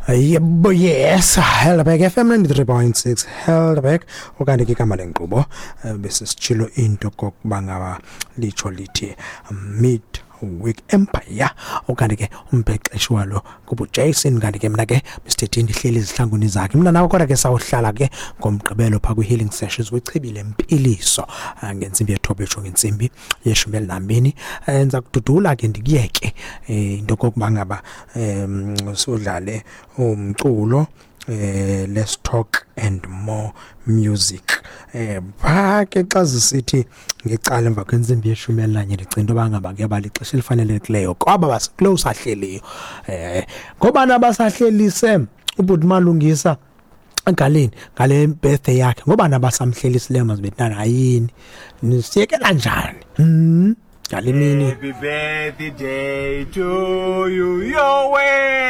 Yebo, yes, Helderberg FM 93.6 Helderberg. Ukanti ke igama lenkqubo bese sitshilo into kokuba ngaba litsho lithi Mid Week Empire. Ukanti ke umbhexeshi walo kubuJason, kanti ke mna ke Mr ndihleli ezihlangwini zakhe mna nawe, kodwa ke sawuhlala ke ngomgqibelo phaa kwi-healing sessions kwichibi lempiliso ngentsimbi yethoba etsho ngentsimbi yeshumi elinambini. Ndiza kududula ke ndikuyeke into kokuba ngaba sudlale umculo, let's talk and more music. Phaa ke xa zisithi ngecala emva kwentsimbi yeshumi elinanye, ndicinga into yoba ngaba kuyaba lixesha elifanelekileyo kwaba basikulo usahleliyo, ngobana abasahlelise ubhuti Malungisa egaleni ngale birthday yakhe, ngoba nabasamhlelisileyo mazibethana hayini nisiyekela njani ngale mini. Happy birthday to you, your way.